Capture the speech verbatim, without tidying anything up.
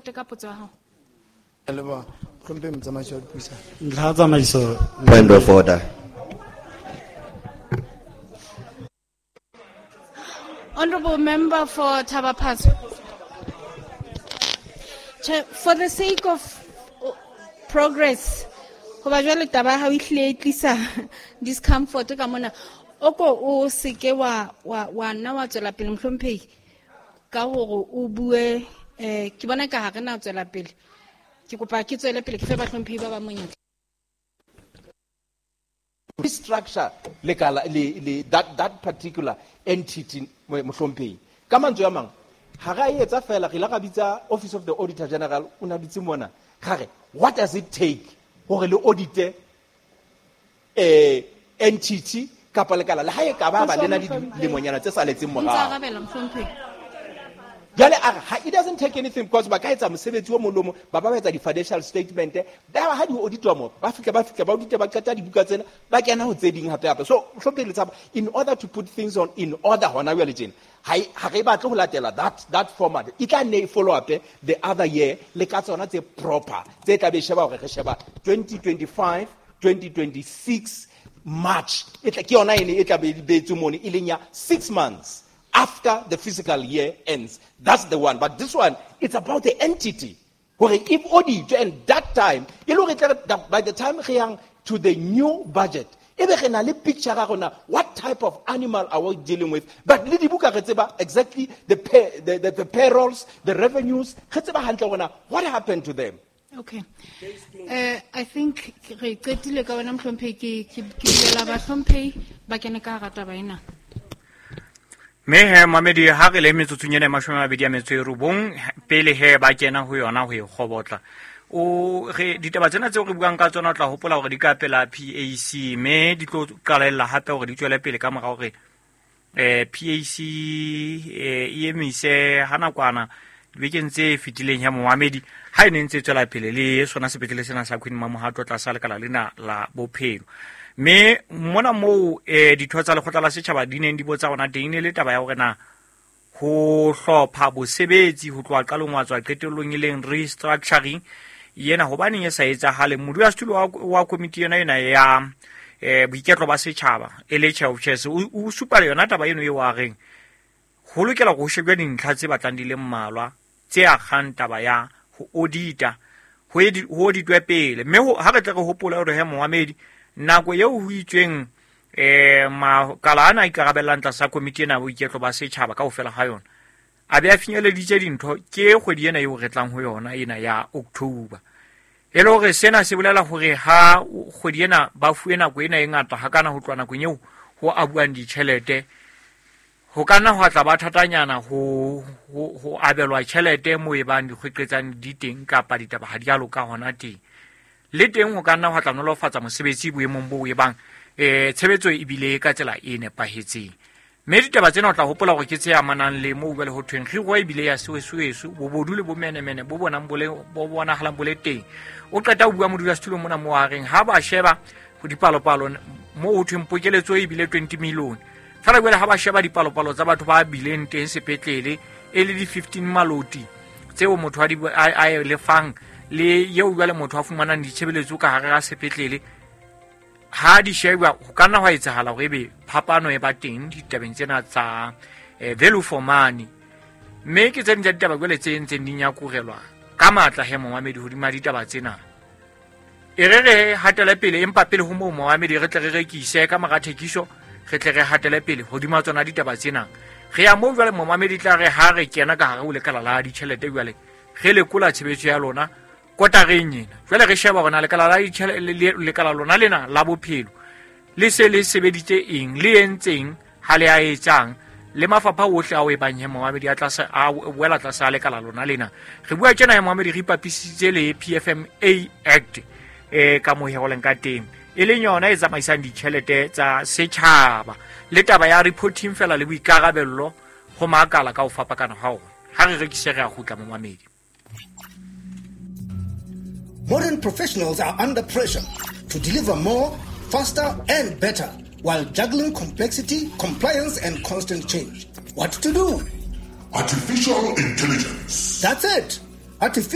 qete ka potso ya hao. Ke a leboha. Mohlomphehi Motsamaisi wa Dipuisano. Ntlha ya tsamaiso. Point of order. Honorable member for Thaba Phatso. Chair, for the sake of progress, hoba jwale taba ya hao e hlile e tlisa discomfort ka mona. O ko o seke wa, wa, wa nna wa tswela pele mohlomphehi ka hore o bue, eh, ke bona ka ha re na tswela pele. Ke kopa ke tswele pele ke fe bahlomphehi ba ba monyetla. Structure lekala le, le that, that particular entity mohlomphehi. Ka mantswe a mang, ha re a etsa fela, re ile ra bitsa Office of the Auditor General, o na dutse mona. Ra re, what does it take hore le audite, eh, entity kapa lekala le ha e ka ba ba le na le dilemonyana tse saletseng morao? Ntse arabela, mohlomphehi. Jwale a re, ha, it doesn't take anything because ba ka etsa mosebetsi o mong le o mong, ba ba etsa di-financial statement, ba ha di auditwa moo, ba fihla, ba fihla, ba audite, ba qeta dibuka tsena, ba kena ho tse ding hape hape. So, mohlomphehi Letshaba, in order to put things on in order hona jwale tjena, ha e, ha re batle ho latela that, that format. E tla nne e follow up the other year le ka tsona tse proper, tse tla be sheba hore re sheba twenty twenty-five, twenty twenty-six March. E tla, ke yona ene e tla be e beetswe mono, e leng ya six months after the fiscal year ends. That's the one. But this one, it's about the entity. Hore if audit and that time, e le hore e tla re, by the time re yang to the new budget, e be re na le picture ya rona, what type of animal are we dealing with? But le dibuka re tseba exactly the, pay, the, the, the payrolls, the revenues, re tseba hantle rona, what happened to them? Okay. Uh, I think re qetile ka wena mohlomphehi, ke, ke, ke bulela bahlomphehi ba kene ka hara taba ena. Mme he, mamedi, ha re le metsotsong ena e mashome a mabedi a metso e robong, pele he ba kena ho yona ho e kgobotla. O re ditaba tsena tseo re buang ka tsona o tla hopola hore di ka pela P A C, mme di tlo qalella hape hore di tswele pele ka mora hore, eh, P A C, eh, e emise ha nakwana dibekeng tse fetileng ya momamedi, ha e ne ntse e tswela pele le sona sepetlele sena sa Queen Mamohato tlasa lekala lena la bophelo. Mme mona moo, eh, ditho tsa lekgotla la setjhaba di neng di botsa hona teng, e ne le taba ya hore na ho hlopha bosebetsi ho tloha qalong wa tswa qetellong e leng restructuring yena hobaneng e sa etsahale. Modulasetulo wa, wa komiti yona ena ya, eh, boiketlo ba setjhaba e le Chair of Chairs, o, o supa le yona taba eno eo a reng ho lokela ho shebjwa dintlha tse batlang di le mmalwa tse akgang taba ya ho audita, ho edi-, ho auditwe pele. Mme ho, ha re tle re hopole hore he momamedi, nako eo ho itsweng, eh, makala ana a ikarabellang tlasa komiti ena ya boiketlo ba setjhaba kaofela ha yona, a be a finyeleditse dintho ke kgwedi ena eo re tlang ho yona ena ya October. E le hore sena se bolela hore ha kgwedi ena ba fuwe nako ena e ngata hakana ho tloha nakong eo ho abuang ditjhelete, ho ka nna hwa tla ba thatanyana ho, ho, ho abelwa tjhelete moo e bang dikgweqetsang di teng kapa ditaba ha di a loka hona teng. Le teng ho ka nna hwa tla nolofatsa mosebetsi boemong boo e bang, eh, tshebetso e bile ka tsela e nepahetseng. Mme ditaba tsena o tla hopola hore ke tse amanang le moo jwale ho thweng kgiro e bile ya seweseweso, bobodu le bomenemene bo bonang bo le, bo bonahalang bo le teng. O qeta ho bua modulasetulo mona moo a reng ha ba sheba ho dipalopalo moo ho thweng pokeletso e bile twenty million. Feela jwale ha ba sheba dipalopalo tsa batho ba bileng teng sepetlele e le di fifteen maloti tseo motho a di, a, a e lefang le eo jwale motho a fumanang ditshebeletso ka hare ha sepetlele, ha di shebwa ho ka nna hwa etsahala hore ebe phapano e ba teng ditabeng tsena tsa, eh, value for money. Mme ke tse ding tsa ditaba jwale tse ntseng di nyakurelwa ka matla he momamedi hodima ditaba tsena. E re re hatele pele, empa pele ho moo momamedi re tle re rekise ka mora thekiso, re tle re hatele pele hodima tsona ditaba tsena. Re ya moo jwale momamedi tla re ha re kena ka hare ho lekala la ditjhelete jwale, re lekola tshebetso ya lona kotareng ena. Jwale re sheba hore na lekala la ditjhele-, le, le, lekala lona lena la bophelo le se le sebeditse eng, le entseng, ha le a etsang, le mafapha ohle ao e bang he momamedi a tlasa, a wela tlasa a lekala lona lena. Re bua tjena he momamedi re ipapisitse le P F M A Act, eh, ka moo he ho leng ka teng, e leng yona e tsamaisang ditjhelete tsa setjhaba le taba ya reporting fela le boikarabello ho makala ka ho fapakana ha ona. Ha re rekise re a kgutla momamedi. Modern professionals are under pressure to deliver more, faster and better while juggling complexity, compliance and constant change. What to do? Artificial intelligence. That's it. Artificial